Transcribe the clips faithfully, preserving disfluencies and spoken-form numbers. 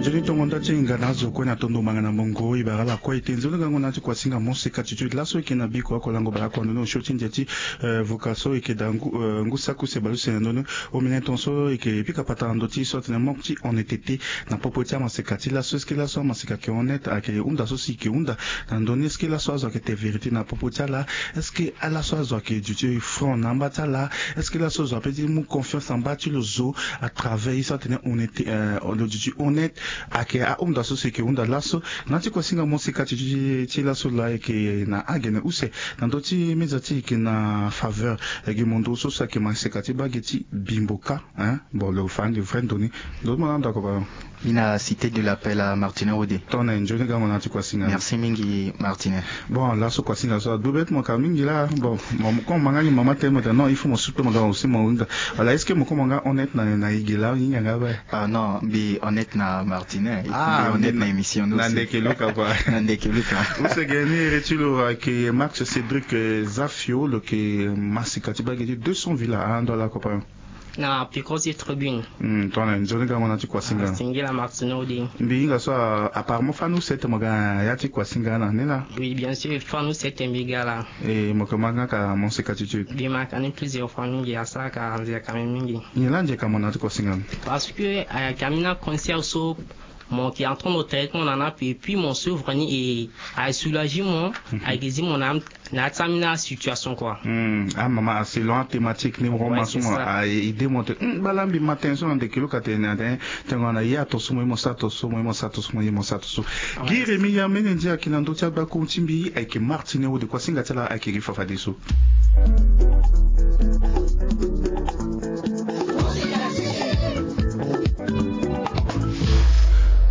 Nzoni tongo nda ti hinga na azo kue na tondo manga na mongo e bara ala kue e te. Nzoni gango na ti kuasinga mo seka ti ti laso e yeke na biko oko lango bara oko ando ni osio ti ndia ti, eh, voka so e yeke daa ngu, eh, ngu saki use baleuse na ndoni. Omene ton so e yeke pika patara na ndö ti so atene manque ti honnêteté na popo ti amaseka ti laso. Est-ce que laso amaseka ayeke honnête, ayeke hunda so si e yeke hunda na ndö ni? Est-ce que laso azo ayeke te vérité na popo ti ala? Est-ce que laso azo ayeke duti franc na amba ti ala? Est-ce que laso azo apeut ti mu confiance na mba ti lo zo à travers ye so atene honnête, eh, lo duti honnête? Ayeke ahunda so si e yeke hunda laso. Na ya ti kuasinga mo seka ti, ti, ti laso laa e yeke na agene use na ndö ti meza ti e yeke na faveur, eh, gi mo nduru so so ayeke maseka ti bage ti Bimboka, hein? Bon, lo fa ande vrai ndoni. Lo mo na ndo ako baa. Ni na Cité de l'Appel à Martine Wode. Tongana nzoni gango na ya ti kuasinga. Merci mingi, Martine. Bon, laso kuasinga so adu bête mo ka mingi laa. Bon, mo, mo koma nga ni mama tene mo tene non, il faut mo soutenir mo aussi mo hinga. Voilà, est-ce que mo koma nga honnête na, na e ge laa, hinga nga baa? Ah non, mbi honnête na Martine. Ah, mbi honnête na émission ni aussi. Na ndeke luka quoi. Na ndeke luka. Use ge ni iri ti lo ayeke Max Cédric, eh, Zafio, lo yeke maseka ti bage ti deux cents villas. Ah, ndo ala ko pa. Na piko ti tribune. Hmm, tongana nzoni gango na ti kuasinga. Ah, singila Martine Wode. Mbi hinga so, ah, apparemment fani use tene mo ga na ya ti kuasinga na ni laa. Oui, bien sûr, fani use tene mbi ga laa. E mo yeke ma nga ka mo seka ti ti. Mbi ma ka ni plusieurs fois mingi, asara ka nzeka mingi. Nyen laa nzeka mo na ya ti kuasinga? Parce que, eh, ayeke ambeni aconcert so mo yeke en train de traiter mo na ni ape, et puis mo souffre ni, e asoulager mo, ayeke zi mo na, na ya ti ambeni asituation quoi. Hmm, amama, ah, selon athématique ni mo ma so mo, ah, e, idée mo tene, hmm, baa laa mbi ma tënë so na ndeke luka tene, atene, tongana ye ato so mo ye mo sara ato so, mo ye mo sara ato so, mo ye mo sara ato so. Gi Rémi ya mbeni ndia ayeke na ndö ti agbako ti mbi, ayeke Martine Wode, kuasinga ti ala ayeke gi fafadeso.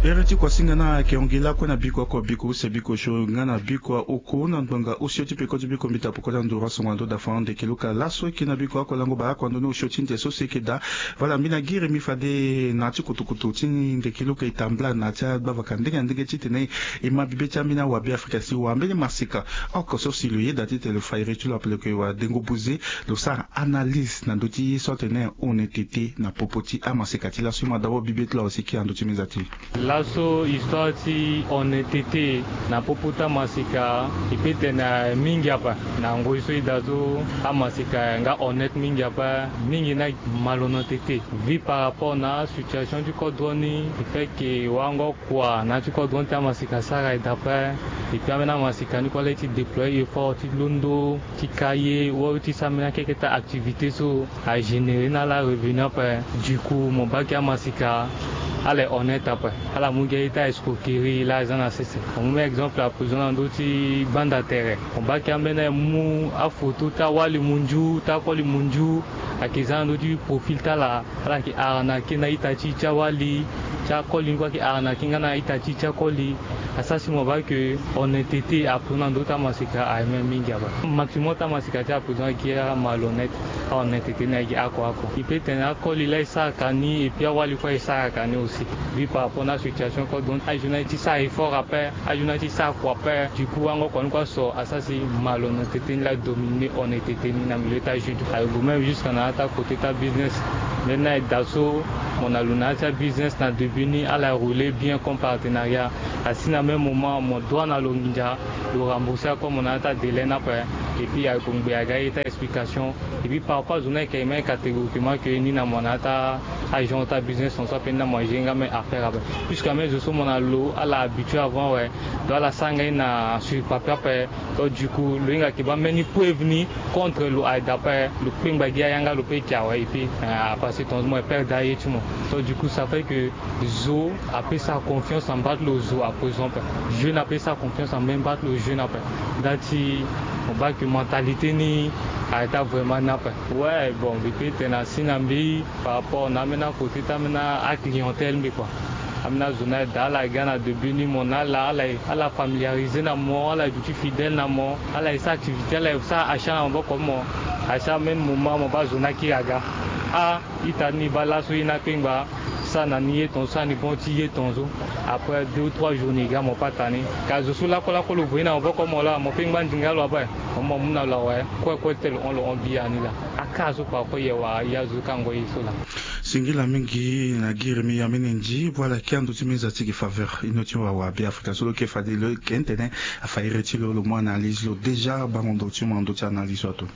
Iri ti kuasinga ni ayeke hongela kue na biko oko, biko use, biko sio nga na biko oko na ngbanga osio ti peko ti biko mbi ta poko ti anduru asongo na ndö dafa ndeke luka. Laso e yeke na biko oko lango bara oko ando ni osio ti ndia so si e yeke daa. Voilà, mbi na gi Rémi fade na ya ti kotokoto ti ndeke luka e tambula na ya ti agbavaka ndenge na ndenge titene e ma bibe ti ambeni awabe Afrika si wa mbeni maseka oko so si lo yeda titene lo fa iri ti lo ape lo yeke wa dengo buze. Lo sara analyse na ndö ti ye so atene honnêteté na popo ti amaseka ti laso. E ma d'abord bibe ti lo awe si e kiri na ndö ti meza ti e. Laso histoire ti honnêteté na popo ti amaseka e peut tene mingi ape. Na ngoi so e daa so amaseka nga honnête mingi ape, mingi na malhonnêteté. Vu par rapport na situation ti kodro ni, e fait que wango kua na ya ti kodro ni ti amaseka asara e daa ape. Et puis ambeni amaseka ni kue ala ye ti déployer effort ti londo ti ka ye wala ti sara mbeni akeke ti activité so a générer na ala revenu ape. Du coup mo baa ke amaseka ala honnête ape, ala mu gi aye ti escroquerie laa aza na sese. Mo mu exemple à présent na ndö ti gbanda tere, mo baa ke ambeni aye mu aphoto ti awali munzu ti akoli munzu ayeke za na ndö ti profil ti ala. Ala yeke arnaquer na ita ti ti awali ti akoli ni kue, ayeke arnaquer nga na ita ti ti akoli. Asara si mo baa ke honnêteté ape na ndö ti amaseka aye même mingi ape. Maximum ti amaseka ti ape donc ayeke amalhonnête. Ahonnêteté ni ayeke oko oko. E peut tene akoli laa e saraka ni et puis awali kue e saraka ni aussi. Vu par rapport na situation kue, donc aye ti sara effort ape, aye ti sara kua ape. Du coup wango kua ni kue aso asara si malhonnêteté ni laa adominer honnêteté ni na milieu ti ajeune. Aye gue même jusqu'à na ya ti akoté ti abusiness. Mbeni aye daa so mo na lo na ya ti abusiness na début ni, ala rouler bien comme partenariat. Asi na même moment mo doit na lo nginza, lo rembourser ako mo na ya ti adélai ni ape. Et puis aye gue ngbe aga ye ti a-explication. Et puis par rapport azo ni ayeke même catégoriquement que ni na mo na ya ti agent ti abusiness, na so ape ni na mo agérer nga même affaire ape. Puisque même zo so mo na lo ala habitué avant awe. Donc ala sara nga ye na sur papier ape. Donc du coup lo hinga yeke baa mbeni preuve ni contre lo, aye daa ape lo kpengba gi ayanga lo pe yeke awe. Et puis, euh, à partir ton mo e perdre aye ti mo. Donc du coup ça fait que zo ape sara confiance na mba ti lo zo à présent ape. Jeune ape sara confiance na mbeni mba ti lo jeune ape. Nda ti mo baa ke mentalité ni arrêta vraiment ni ape. Ouais, bon, mbi pe tene asi na mbi par rapport na ambeni akoté ti ambeni aclientèle mbi kua. Ambeni azo ni aye daa ala ga na début ni mo na ala, ala, ala familiarisé na mo, ala duti fidèle na mo, ala e sara activité, ala e sara achat na maboko ti mo. Asi ambeni moment mo baa zo ni akiri aga. Ah, ita ni baa laso ye ni akpengba. Sara na ni ye tongaso, sara ni bon ti ye tongaso. Après deux ou trois jours ni ga mo pe ata ni. Ka zo so lakue lakue lo voye na maboko ti mo laa, mo pe ngba ndinga lo ape. Mo mu na lo awe, kue kue ti tene lo hon, lo hon bia ni laa. Akara so kua kue ye wara ya zo ka ngoi ye so laa. Singila mingi na giri mi ya mene ndi, voilà, ki ando ti mi za ti gi faveur ino ti wawa Be Afrika so lo ke fade lo ke tene afa iri ti lo, lo mu analyse lo déjà bango ndo ti mo ando ti analyse so ato.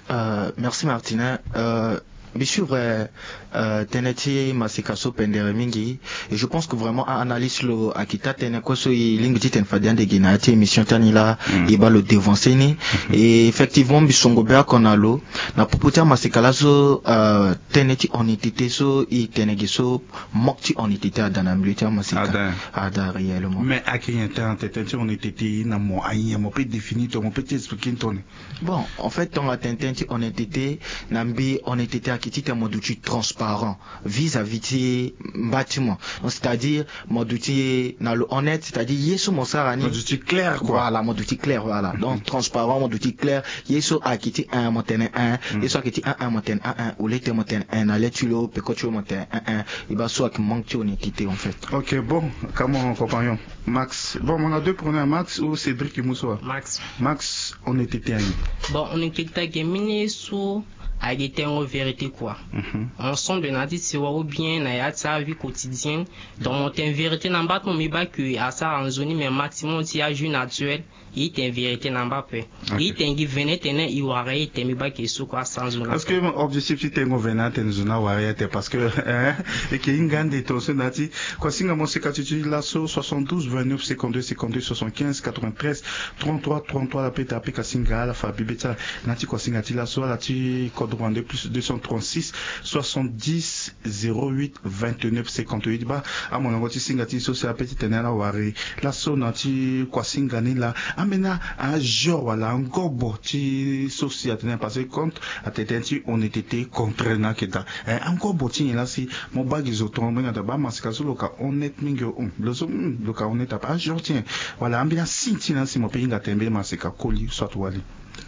Euh, merci Martine. Euh, mbi suivre, euh, tënë ti maseka so pendere mingi. Et je pense que vraiment a-analyse lo ayeke taa tënë kue so e lingbi titene fade ande gi na ya ti émission ti ani laa. Mm. E baa lo dévancer ni. Mhm. Et effectivement mbi songo be oko na lo na popo ti amaseka laso, euh, tënë ti honnêteté so e tene gi so, manque ti honnêteté ada na milieu ti amaseka. Ada. Ada réellement. Mais ayeke nyen tënë ti honnêteté na mo, anyen mo peut définir tongana mo peut ti expliquer ni tongana? Bon, en fait tongana tene tënë ti honnêteté, na mbi honnêteté ayeke titene mo duti transparent vis-à-vis ti mba ti mo. Donc c'est-à-dire mo duti na lo honnête, c'est-à-dire ye so mo sara ni mo duti clair quoi. Voilà, mo duti clair, voilà. Mhm. Donc transparent, mo duti clair. Ye so ayeke ti un mo tene un. Mhm. Ye so ayeke ti un un mo tene un un. Au lieu ti mo tene un na le ti lo, peko ti lo mo tene un un. E baa so ayeke manque ti honnêteté en fait. Ok, bon, ka mon compagnon Max. Bon, mo na deux pronoms, Max ou Cédric Musoa? Max. Max, honnêteté anyen? Bon, honnêteté ayeke mbeni ye so ayeke tengo vérité quoi. Mhm. Ensemble na ya ti sewa ou bien na ya ti avie quotidienne. Donc mo tene vérité na mba ti mo, mbi baa ke asara nzoni, mais maximum ti ajour naturel. E tene vérité na mba ape. Ok. E tene gi vene tene e wara ye tene, mbi baa ke so kue asara nzoni. Est-ce que objectif ti tengo vene atene nzoni awara ye atene? Parce que, hein, e ke hinga ande tongaso na ya ti kuasinga mo seka ti ti laso, soixante-douze vingt-neuf cinquante-deux cinquante-deux soixante-quinze quatre-vingt-treize trente-trois trente-trois, la peta peka singa ala fa bibe ti ala na ya ti kuasinga ti laso, ala ti kodro wande plus deux cent trente-six soixante-dix zéro huit vingt-neuf cinquante-huit. Baa amolenge ti singa ti so si ape ti tene ala wari laso na ya ti kuasinga ni laa. Ambeni a-, ajour wala angobo ti so si atene, parce que compte atene tënë ti honnêteté contraire na ayeke daa. Eh, angobo ti nyen laa si mo baa gi zo tongo mo hinga daa baa maseka so lo ka honnête mingi o, hum, lo so, hum, lo ka honnête ape, ajour ti nyen? Wala ambeni asigne ti nyen laa si mo peut hinga tene mbeni maseka koli soit wali?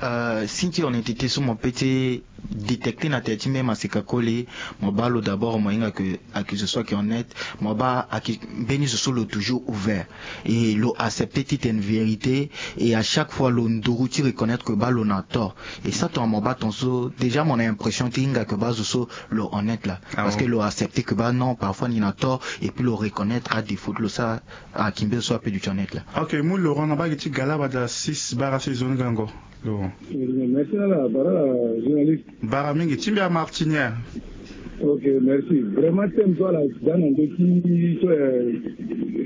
Euh, signe ti honnêteté so mo peut ti détecter na tere ti mbeni maseka koli, mo baa lo d'abord mo hinga ke ayeke zo so ayeke honnête, mo baa ayeke mbeni zo so lo toujours ouvert. Et lo accepter titene vérité, et à chaque fois lo nduru ti reconnaître ke baa lo na tort. Et ça tongana mo baa tongaso déjà mo na impression ti hinga ke baa zo so lo honnête laa. Ah bon? Parce que lo accepter ke baa non, parfois ni na tort, et puis lo reconnaître adéfaut ti lo, ça ayeke mbeni zo so ape duti honnête laa. Ok, mu Laurent na baa gi ti Galabada six, bara si zo ni gango. Bon. Merci na la, bara la journaliste. Bara mingi, ti mbi a Martinière. Ok, merci. Vraiment, thème so ala da na ndö ti so, euh,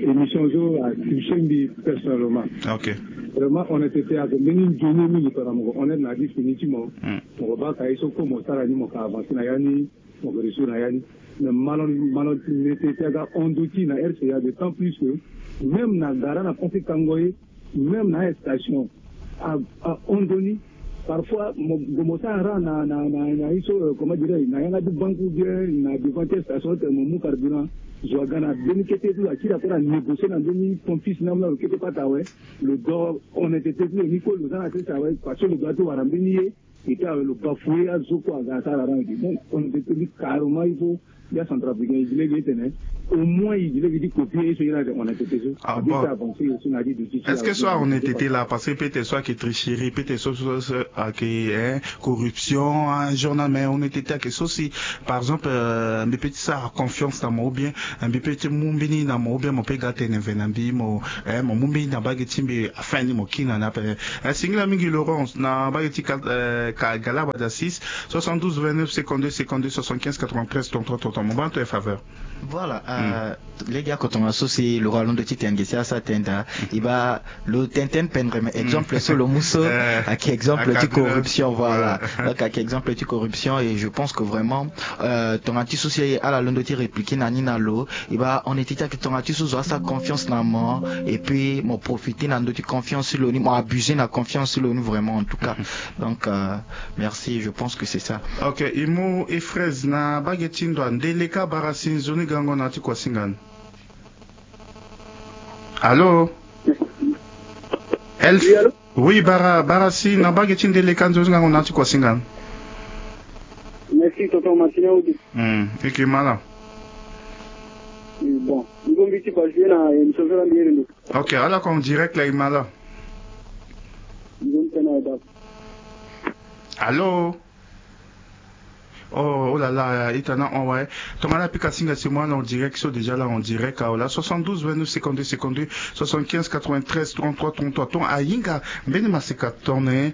émission so atouché mbi personnellement. Ok. Vraiment, honnêteté ayeke mbeni nzoni mingi tongana mo ko honnête na ya ti fini ti mo. Hmm. Mo ko baa ka ye so kue mo sara ni mo ka avancer na ya ni, mo ko réussir na ya ni. Mais malhon-, malhonnêteté aga hon ndö ti na R C A, d'autant plus que même na gara na pase kango ye, même na station a, ahon ndoni. Parfois mo, mo sara na, na, na, na ye so, euh, comment dirais-je, na yanga ti banque ou bien na devant ti station ti mo mu carburant. Zo aga na mbeni kete ti lo akiri akota négocier na mbeni pompiste na mu na lo kete pata awe. Lo dor honnêteté ti lo ni kue lo za na sese awe, parce que lo doit ti wara mbeni ye. Et puis awe lo bafouer azo kue aga asara rang ete. Donc honnêteté ni carrément il faut ya centrafricain e gi lege ti tene au moins e gi lege ti copier ye so ye na ate honnêteté so. Ah bon? Est-ce que so ahonnêteté laa, parce que peut-être so ayeke tricherie, peut-être so, so, so ayeke, hein, corruption, un journal, mais honnêteté ayeke so si, par exemple, euh, mbi peut ti sara confiance na mo ou bien, euh, mbi peut ti mu mbeni na mo ou bien mo peut ga tene ve na mbi mo, hein, mo mu mbeni na bage ti mbi afin ni mo kiri na ni ape. Eh, singila mingi Laurence na bage ti ka, eh, ka Galabada six, soixante-douze vingt-neuf cinquante-deux cinquante-deux soixante-quinze quatre-vingt-treize trente-trois trente-trois. Mo baa na to e faveur. Voilà, euh, lege oko tongaso si lo ga londo ti tene gi si asara tënë daa, e baa lo tene tënë pendre, mais exemple so lo mu so, eh, ayeke exemple ti corruption, voilà. Donc ayeke exemple ti corruption, et je pense que vraiment, euh, tongana ti so si ala londo ti répliquer na ni na lo, e baa honnêteté ayeke tongana ti so zo asara confiance na mo, et puis mo profiter na ndö ti confiance ti lo ni, mo abuser na confiance ti lo ni vraiment, en tout cas. Donc, euh, merci, je pense que c'est ça. Ok, e mu e Fraise na bage ti ndo, Ndeleka, bara si nzoni gango na ya ti kuasinga ni. Allô? Elf? Oui, allô? Oui, bara, bara si na bage ti Ndeleka, nzoni gango na ya ti kuasinga ni. Merci, tonton Martinière Odi. Hmm, e yeke ma laa. Bon, nzoni ti kuasinga na émission so la mbi iri ndo. Ok, ala ko en direct la, e yeke ma laa. Nzoni tënë na e daa. Allô? Oh, oh là là, ita na on ouais. Tongana pika singa si moi en direct so déjà là en direct aola soixante-douze vingt-neuf cinquante-deux cinquante-deux soixante-quinze quatre-vingt-treize trente-trois trente-trois ton ayinga mbeni maseka tone.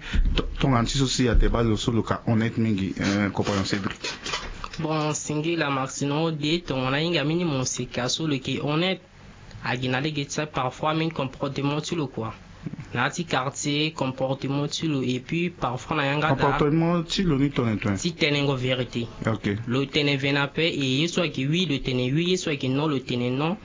Tongana ti so si ate balo so lo ka honnête mingi. Compagnon Cédric. Bon, singila maxino de tongana yinga mini moseka so lo ke honnête. Agi na lege ti sa parfois mini comportement ti lo kua na ya ti quartier comportement ti lo et puis parfois na yanga comportement ti lo ni tone tone ti tenengo vérité. Ok. Lo tene vena pe et ye so agi oui lo tene oui ye so agi non lo tene non.